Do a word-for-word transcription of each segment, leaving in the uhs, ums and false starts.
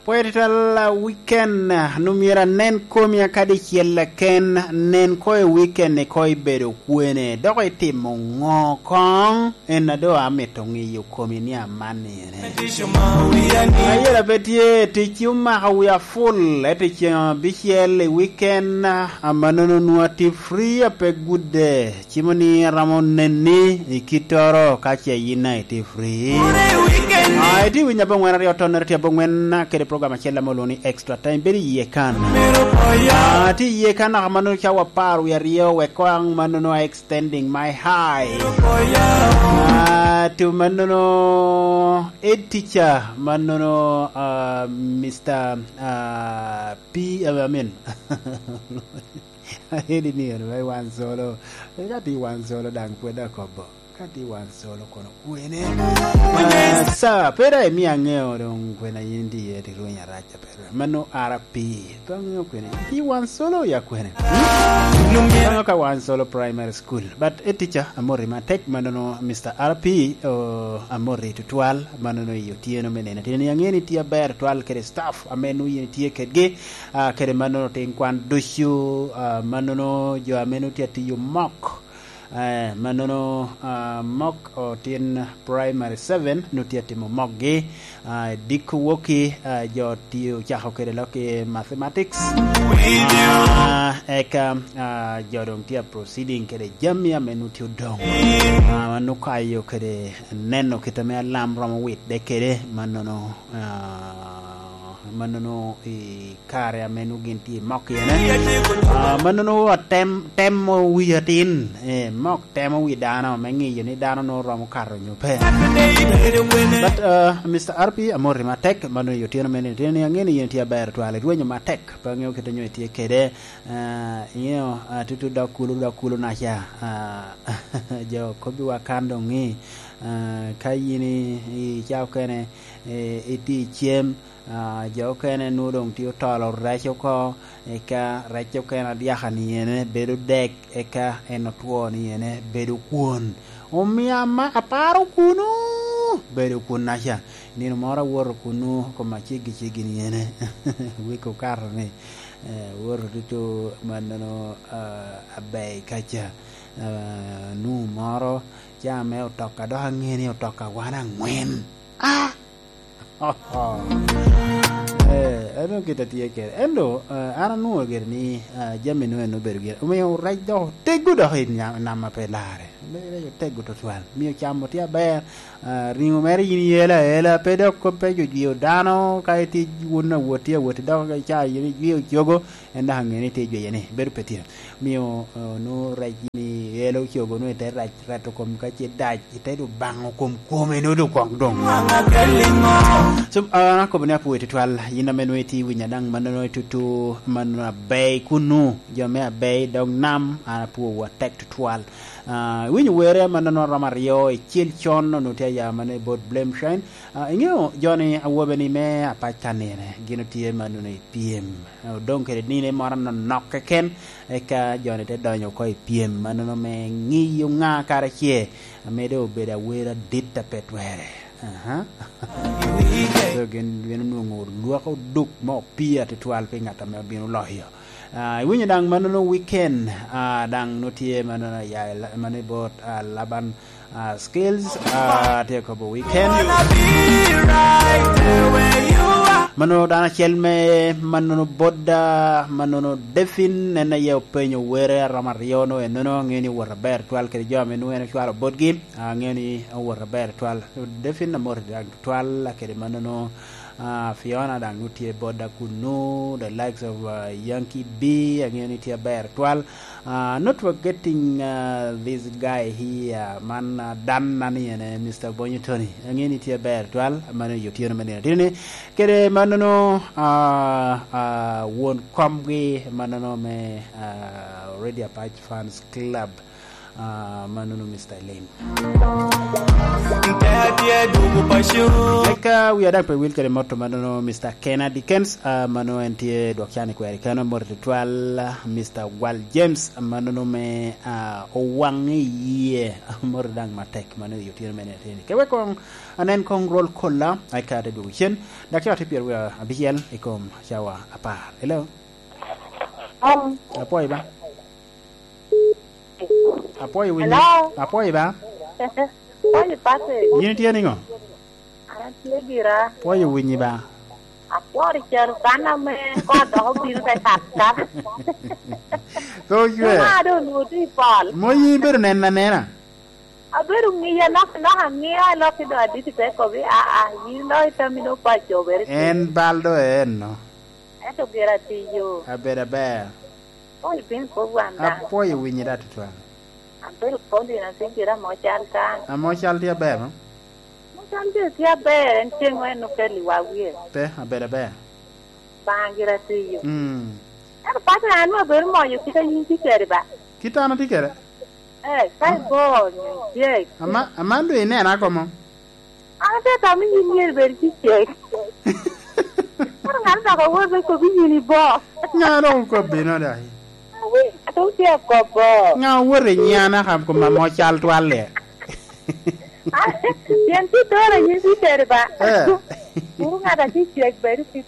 Pwod twal, ah, weekend, ah, nu myero anen komi aka dicyel keken, nen ko i weekend-ni ko ibedo kwene, dok itimo ŋo koŋ? En a doŋ amito ŋeyo komi ni aman ene. Ayela pe tye, tic omako wia full, ento ceŋ abicel i weekend, ah, amannono nwoŋo atye free, ape gudde. Cimo ni aromo neni i kittoro ka ce yin a itye free. Ah, itye winyo abongwen aryo tonnere tye abongwen, kede program acel ame olwoŋo ni Extra Time. Bedo iye kan. Ah, tye iye kan naka mannono ca wapar wi aryo wek koŋ mannono a extending my high. Ah, to mannono ed teacher, mannono, ah, Mister, ah, P, I mean, Edi ni en me wan solo. Ka tye wan solo daŋ pwod akobo. Ka tye wan solo kono kwene? Ah, sa, pe daŋ imio aŋeo doŋ kwena yin tye iye, tye rweny arac a pe rweny. Mano R P. Pe aŋeo kwene. Tye wan solo ya kwene? Hmm? Aŋeo ka wan solo primary school. But e teacher, amoti matek, manono Mister R P, oh, amoti tutwal, manono i otyeno me nene. Tye ni aŋeo ni tye aber twal kede staff, ame nu yin tye kedgi. Ah, kede mannono tin kwan ducu, ah, mannono jo ame nongo tye atiyo mok, eh, mannono, ah, mok otin primary seven nongo tye atimo mokgi, ah, diko wokki, ah, jo tye ocako kede lok i mathematics. Ah, eka, ah, jo doŋ tye a proceeding kede jami ame nongo tye odoŋ. Ah, nongo kayo kede neno kit ame alam romo witde kede, mannono, ah, mannono i kare ame nongo gin tye i mok iene. Ah, mannono atem, temo wi atin, eh, mok temo wi dano me ŋeyo ni dano nongo romo kato nyo pe. But, ah, Mister R P, amoti matek, mano i otyeno me nino, ni aŋeo ni yin tye aber twal, irwenyo matek, pe aŋeo kit onyo itye kede, ah, iŋeo, ah, tutu dok kulu, dok kulu naca, ah, jo kobbiwa kan doŋ ni, ah, ka yin i, i ca okene, eh, itye i cem, Ah, jo okene nwoŋo doŋ tye otolo rec oko, eka rec okene adyaka ni ene bedo dek, eka en otwo ni ene bedo kwon. Omio ama-, aparo kunu, bedo kunnaca. Nino moro awoto kunu, koma ceggi ceggi ni ene. Wek okato ni, eh, woto tutu mannono, ah, aber kaca. Ah, nu moro, ca me otoka, dok aŋeo ni otoka wan aŋwen. Ah! Eh, en dong kit a tye kede. Ento, eh, an anwoŋo gire ni, eh, jami nwoŋo en obedo gire. Omio rec dok oteggo dok i nya-, nam a pe larre. Rec oteggo tutwal. Mio camo tye aber. Eh, riŋo mere yin iyelo aela, pe dok kop pe jo jwio dano, ka itye wun awot, tye awot, dok ka ca yin ijwio cogo, en dok aŋeo ni tye jweye ni, bedo pe tye. Mio, eh, nwoŋo rec ni elo cogo nwoŋo ite rac, rato kom ka ce dac, ite du baŋo kom kome nwoŋo du kok doŋ. So, ah, an akobo ni apwoyo tutwal, yin ame nwoŋo itye winyo daŋ mannono itutu, mannono aber kunu, jo me aber dog nam, an apwowu atek tutwal. Ah, iwinyo were mannono romo aryo, i cel con, onwoŋo tye aya mannono i bot Blame Shine. Ah, iŋeo joni awobe ni me apac kanine, gin otye mannono i pyem. Odoŋ kede nino moro anonok keken, eka joni te donyo oko i pyem, mannono me ŋiyo ŋa kara ce, ame doŋ obedo awero adit a pe twere. Aha. So, gin, gin onwoŋo olwak oduk ma opii atutwal pi ŋat ame obino loyo. Ah, iwinyo daŋ mannono weekend, ah, daŋ nwoŋo tye mannono ya, mannono i bot, ah, Laban ah, Skills, ah, tye kobo weekend. Mano dano acel me mannono boda, mannono Defin, en aye openyo were aromo aryo no, enono aŋeo ni owot aber twal kede jo ame nwoŋo en ocwalo botgi, ah, aŋeo ni owot aber twal. Defin amoti daŋ twal, kede mannono, ah, Fiona daŋ nwoŋo tye boda kunu, the likes of, ah, Yankee B, aŋeo ni tye aber twal. Ah, not forgetting, ah, this guy here, man, ah, dan na ni ene, Mister Bonyo Tony. Aŋeo ni tye aber twal, mano i otyeno me nino. Tye ni, kede mannono, ah, ah, won komgi, mannono me, ah, Radio Apac Fans Club. Ah, manono, Mister Elaine. Eka wia daŋ pe wil kede moto manono, Mister Kennedy Kens, ah, mano en tye dwok can i kweri keno, moto tutwal, ah, Mister Gwal James, ah, manono me, ah, owaŋ i yie, ah, moto daŋ matek, mano i otyeno me nino ateni. Ke wek koŋ anen koŋ rwol kolla, eka te dwogo cen, dakika tye pyeraryo abicel i kom cawa apar. Hello? Hello? Apwoyo ba? Apwoyo winyi. Hello? Apwoyo ba? Apwoyo, Patrick. Yin itye niŋo? An atye gira. Apwoyo winyi ba? Apworo caro kan ame kono dok obino te kat kat. Pe ocwe. Cuma doŋ onwoŋo tye i pol. Mo yin ibedo neno anena? Abedo ŋiya nok nok, aŋia lok i doŋ adit te kobi, aa, yin lok i tammi doŋ paco obere. En bal doŋ eno. Ento gira tiyo. Abedo aber. Apwoyo piny kop wan daŋ. Apwoyo winyi da tutwal. Abedo kop dino atin gira mo cal kan. Amo cal tye aber, no? Mo cal gira tye aber, en ceŋ en okeli wa wie. Pe, abedo aber. Baŋa gira tiyo. Mm. Ento paco an abedo moyo kit a yin tye kede ba. Kit an atye kede? Eh, ka igo nyo icek. Ama, aman doŋ inena komo? An ate tamo yin myero bed ki cek. Kara ŋat dok awot me kobi yin ibo. Ŋa dok okobbi no dai? Awi, atum tye akobo. Ŋa owoto i nyiana ka koma mo cal twalle? Pien tye doro yin tye teri ba. Eh. Kuru ŋat a tye cek bedo kit.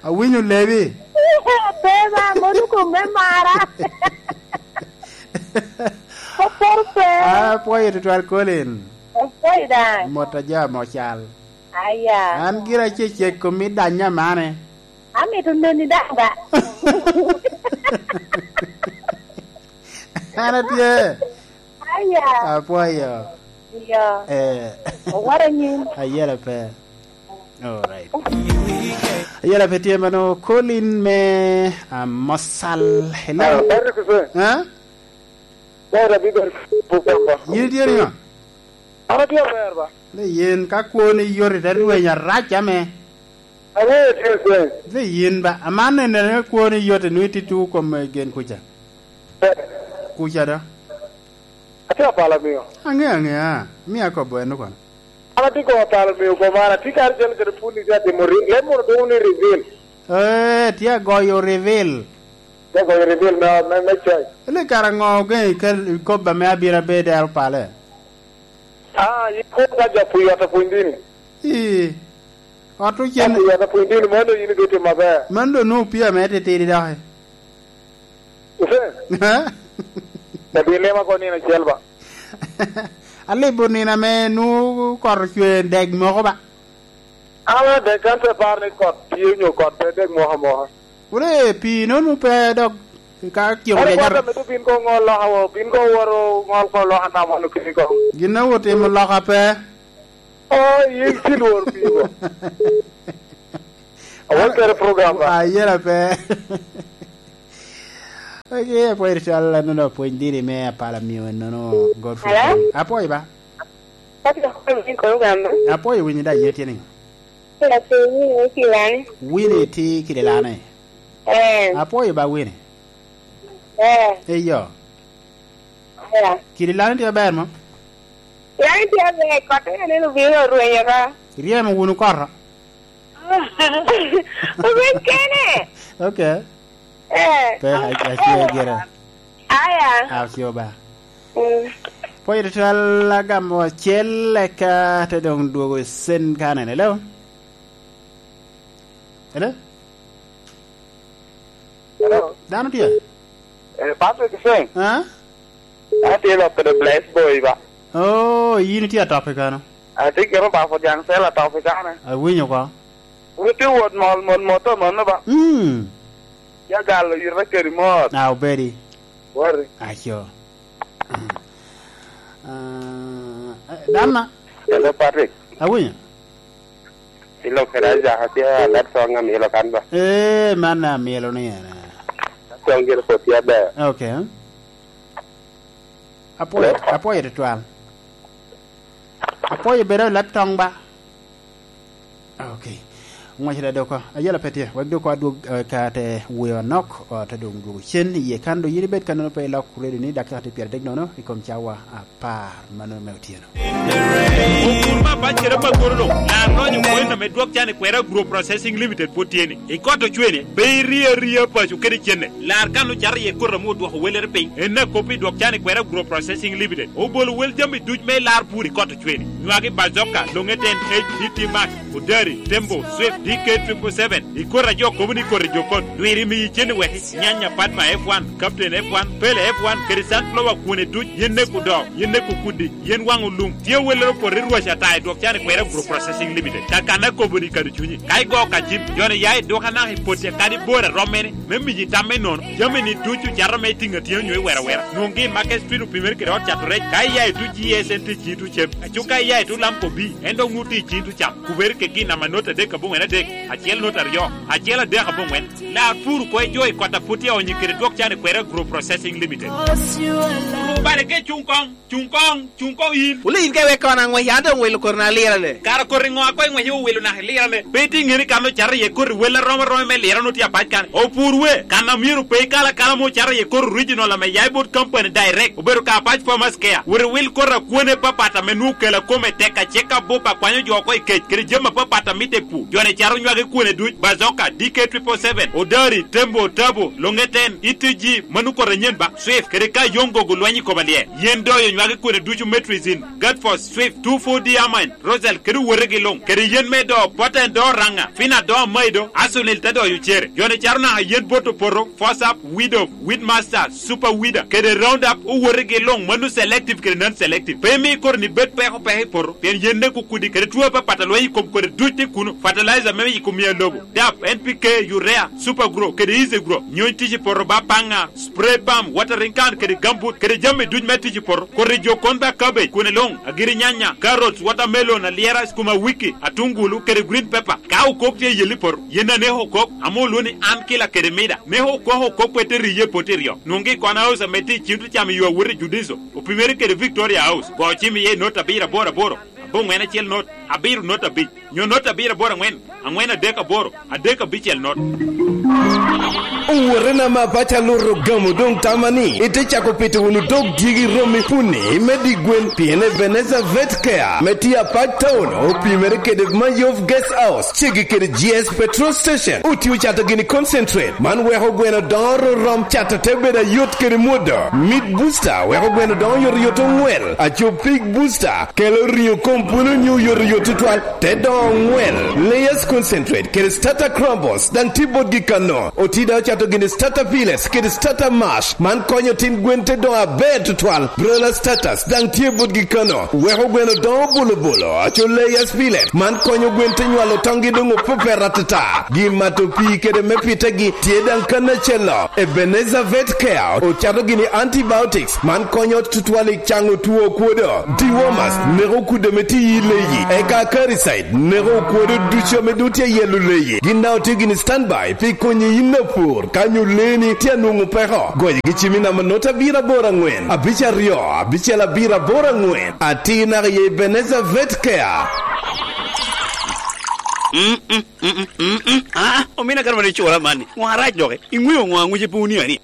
Awinyo lebi. Pe ba, mono kom me mara. Koporo pe. Ah, apwoyo tutwal Colin. Apwoyo daŋ. Mot a jo amo cal. Aya. An gira ce cek kom mi danya mane. Amito neni daŋ ba. An atye. Aya. Apwoyo. Iyo. Eh. Owara nyin. Ayela pe. Alright. Ayela pe tye mano Colin me, ah, Mosal. Hello. Ah, Patrick Hussein. Ha? Ber abi ber program ba. Yin itye niŋo? An atye aber ba. Ni yin ka kwoni yot ite rweny arac ame. Aŋeyo tye Hussein. Ni yin ba. Aman nene ka kwoni yot inwi titwu kom, eh, gen kuca. Eh. Kuca do. Atye apala miyo. Aŋe, aŋea. Mia kobo eno kono. An atye kobo apala miyo koma, an atye kare calo kede puni tye atimo ri-, leb mono dwogo ni reveal. Eh, tye agoyo reveal. Tye agoyo reveal me, me, me coc. Ni kara ŋo ogeŋo ikel, ikobo ame abiro abedo dero pale? Ah, yin kwo ka jo pwonyo ot apwony dini. Ii. Ot ocen. Ka pwonyo ot apwony dini, mano yin ibitimo maber. Mano doŋ nwoŋo opii ame titidi doki. Hussein. Ha? Dabi lema ko nino acel ba. Alibo nino ame nwoŋo kot ocwe dek moko ba. An adek kan pe par ni kot tye onyo kot pe dek moko amoka. Wule pii nono pe dok ka ciko. Ani ja kwata nyar- medo bin ko ŋol loka wo, bin ko woro ŋol ko loka nam wano kini ko. Gin a wot timo loka pe. Oh, yin ci lwor pii wo. Awal kere program ba. Ah, yela pe. Ok, apwoyo cwal, anono apwony dini me apala miyo, anono Godfrey. Hello? Apwoyo ba? Pati ka kwan ni kono gamba. Apwoyo winyo da, yie tye niŋo? Kila pe winyo kila ni. Winnie tye kila ni. Eh. Apwoyo ba Winnie. Eh. Eyo. Eh. Kidi lani tye aber mo? Lani tye aber, kot en en obino orwenyo ka. Iryemo wunu koro? Orweny kene. Okay. Eh. Pe, a-, ace gire. Aya. Ace oba. Mm. Pwod itwal agamo acel eka te dong dwogo sen kanen. Hello? Hello? Hello? Dano tye? Eh, Patrick Seng. Ha? An atye lok kede Bless Boy ba. Oh, yin itye atop i kano? Atye kede Obafo Jaŋ Sel atop i kane. Awinyo ko. Wun itye wot mol, mot, mot, mot, mano ba? Mm. Ya galo yita kedi mot. Ah, obedi. Wari. Aco. Ah, eh, Dana. Hello, Patrick. Awinyo. Ilo kede Ajaka tye alat song amilo kan ba. Eh, man amilo ni en. Song gire po tye aber. Okay. Apwoyo, hello? Apwoyo tutwal. Apwoyo bedo i leb tong ba. Okay. Ŋwacere dok, ayela pe tye, wek dok adwog, eh, ka te wuyo anok, eh, te doŋ dwogo cen iye kan, dok yin ibed kannono pe ilok redio ni dakika tye pyeradek nono i kom cawa apar mano me otyeno. Opur me apac kede apagoro luŋ, lar lonyo kwena me dwok can i kwera Agro Processing Limited pwod tye ni. I kot ocwene, pe irie aria paco kede cenne. Lar kan ocato iye koti ame odwoko wellere piny. En akop i dwok can i kwera Agro Processing Limited. Obolo wel jami duc me lar pur i kot ocwene. Nywagi bazoka, loŋeten, H D T Max, Odari, Tembo, Swift, D K triple seven. I koti a jo kobo ni koti jokon. Lwiri miyi cen i weki. Nyanya, Padma F one, Captain F one, Pele F one, kede sunflower kwone duc, yen neko doo, yen neko kudi, yen waŋo lum. Tye wellere opoto i rwac ata i dwok can i kwera Agro Processing Limited. Kakanna kobo ni kadi cunyi. Ka igo ka cim, joni ya i duka naka i potti kadi bor a rommene, me miyi tam me nono. Jami-ni ducu cato me itiŋ atina onyo iwero awera. Nwoŋgi i Market Street opimere kede ot cato rec. Ka iya i tuc G S N tye i ciŋ tuc cem. Aco ka iya i tuc Lamco B, en dok nwoŋo tye i ciŋ tuc cam. Kubere kede gin namba not adek aboŋwen adek, acel not aryo, acel adek aboŋwen. Lar pur oko i jo i kot a pwod tye onyo kede dwok can i kwera Agro Processing Limited. Rubale ke cuŋ koŋ. Cuŋ koŋ, cuŋ koŋ yin. Wule yin ka iweko an aŋwec, an doŋ wilo koti na lirane. Kara koti ŋo a koŋ iŋwece owilo naka ilirane? Pe itye ŋeni kan ocato iye koti wel a rom aroma me lirane otye apac kan. Opur we, kan a myero pe ikal akala ame ocato iye koti original ame ya i bot company direct, obedo ka Apac Farmers Care. Wot iwil koti a kwone papat ame nwoŋo kela kome tek acek abup a kwanyo jo oko i kec, kede jami apapat a mitte i pur. Joni cato nywagi kwone duc, Bazoka, D K triple seven, Odari, Tembo, Tabo, Longeten, E T G, mano koti anyen ba. Swift, kede ka Yongo gulwenyo i kom alyel. Yen doyo nywagi kwene ducu me Trizin, Gadfos, Swift, two four D Amine, Rosal, kede owotegi luŋ. Kede yen me do, Poten do Raŋa, Fina do Amaido, Asunil te doyo cere. Joni caro naka yen bot opoto, Fosap, Widow, Weedmaster, Super Weeder, kede Roundup, owotegi luŋ, mano selective kede non-selective. Pe imi koro ni bed peko peko i poto, pien yen neko kudi, kede two apapat a lweny i kom kodi duc tye kuno. Fertilizer me yiko miya lobo, dap, N P K, urea, Super Grow, kede Easy Grow. Nyony tic i poto ba paŋa, spray pump, watering can, kede gambut, kede jami duc me tic i poto. Koti jo kon ba cabbage, kwene luŋ, agiri nyanya, carrots, watermelon, alyera, sukuma wiki, atungulu, kede green pepper. Ka okok tye i yelli poto, yen a neko okok, ame olwoŋo ni an kila kede mida. Neko okok okok pe te riye i poto iryo. Nwoŋgi i Kona House ame tye i cim tucam i yo awot i Judiso, opimere kede Victoria House. Go cim iye i not abiro aboro aboro, aboŋwen acel not, abiro not abic. Nyo not abiro aboro aŋwen, aŋwen adek aboro, adek abicel not. Owotena ma paco aluto gamo doŋ tama ni ite cako pito wunu dog dyegi romi puni me di gwen, pien Ebenezer Vet Care me tye apac town opimere kede Mayov Guest House, ceggi kede G S Petrol Station. Otio cato gini concentrate, man weko gweno doŋo rom cato te bedo ayot kede mwodo. Meat Booster weko gweno doŋo yot yot oŋwel. Aco Pig Booster kelo riŋo kom pwolo nyo yot yot tutwal, te doŋo oŋwel. Layers Concentrate kede Starter Crumbles daŋ tye botgi kano. Oti daŋ ocato gini Starter Pellets kede Starter Mash, man konyo tin gwen te doŋo aber tutwal. Broiler Starters daŋ tye botgi kano, weko gweno doŋo bolo bolo. Aco Layers Pellet, man konyo gwen te nywalo toŋgi doŋ opepet atata. Gin mato pii kede me pitegi tye daŋ kan acel-lo. Ebenezer Vet Care ocato gini antibiotics, man konyo tutwal i caŋo two okwodo. Dewormers neko kudde me tiyi i leyi, eka Acaricide neko okwodo ducu ame doŋ tye ayelo leyi. Gin daŋ otye gini standby pi konyi yin apur ka nyo leeni tye anwoŋo peko. Goyogi cim i namba not abiro aboro aŋwen, abic aryo, abicel abiro aboro aŋwen. Atir naka i Ebenezer Vet Care. Mm, mm, mm, mm, mm, mm. Ah, omina kare wan icura man-ni. Ŋo arac doki? Iŋweo ŋo aŋwic i puni ani?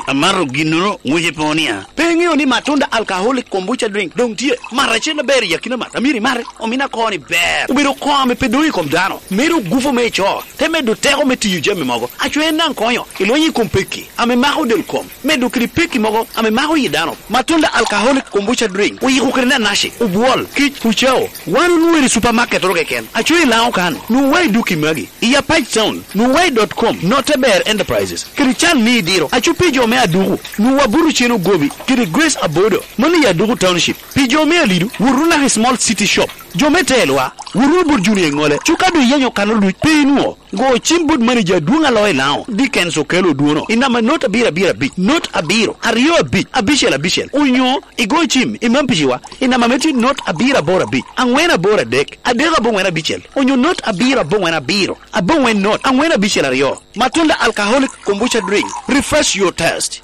Amato ginnoro ŋwic i puni a. Pe iŋeo ni Matunda Alcoholic Kombucha Drink doŋ tye? Mat acel aber i akina mat. Amiro imate. Omina koni ber. Obedo koo ame pe doŋ i kom dano. Mero gufu me ico. Te medo teko me tiyo jami mogo. Aco en daŋ konyo. Ilonyo i kom pekki ame mako del kom. Medo kede pekki mogo ame mako yi dano. Matunda Alcoholic Kombucha Drink. Oyiko kede nanaci, obwol, kic, ucao. Wan onwoŋo i supermarket oro keken. Aco i Laŋo kan. Nwoŋo wa i duki magi. I Apac Town, nwoŋo wa i dot com, Note Ber Enterprises, kede can ni idiro. Aco pi jo me Aduku, nwoŋo wa buto cen ogobi, kede Grace Abodo, mano i Aduku Township. Pi jo me Alido, wot wunu naka i Small City Shop. Jo me Telwa, wot wunu bot Junior Iŋole. Cuka doŋ iyenyo kano luc, pe inwoŋo. Go cim bot manager adwoŋ alo i Laŋo, Dickens Okello Odwono, i namba not abiro abiro abic, not abiro, aryo abic, abicel abicel, onyo igo cim i Mampiciwa, i namba me tye not abiro aboro abic, aŋwen aboro adek, adek aboŋwen abicel, onyo not abiro aboŋwen abiro, aboŋwen not, aŋwen abicel aryo. Matunda Alcoholic Kombucha Drink, refresh your taste.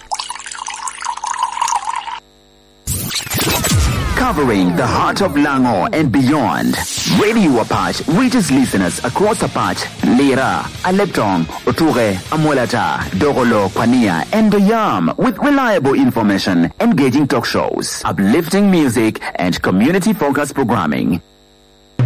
Covering the heart of Lango and beyond, Radio Apac reaches listeners across Apac, Lira, Aleptong, Otuke, Amolata, Dogolo, Kwania, and Doyam with reliable information, engaging talk shows, uplifting music, and community-focused programming.